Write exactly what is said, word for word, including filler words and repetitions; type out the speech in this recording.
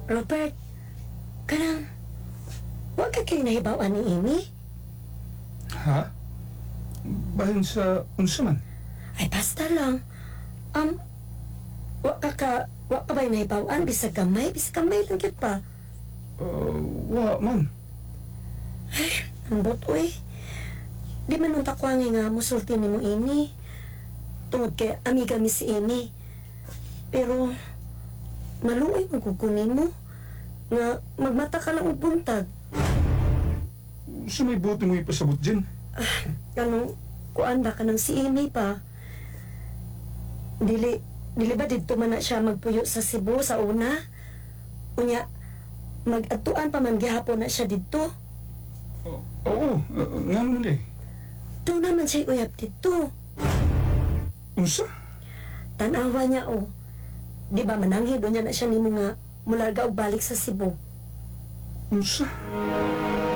Robert, kanang, wa ka kay nahibaw-an ni Amy? Ha? Bahin sa unsa man? Ay, basta lang. Um, wa ka ka, wa ka ba'y nahibaw-an? Bisag gamay, bisag gamay lang gyud pa. Uh, wa man. Ambot, uy. Di man unta ko nga musulti nimo ini. Tungod kay amiga mi si Amy. Pero, maluoy man ko nimo nga magmata ka lang og buntag. Unsa may buot mo ipasabot Jen? Ano, kuan ba kanang si Amy pa? Dili, dili ba didto man na siya magpuyo sa Cebu sa una? Unya, mag-adtuan pa man gihapon na siya didto. O- Oo, uh, ngano man eh. Duna man siya uyab didto. Unsa? Tanawa niya oh. Di ba mananghid unya na siya nimo nga mularga og balik sa Cebu. Unsa?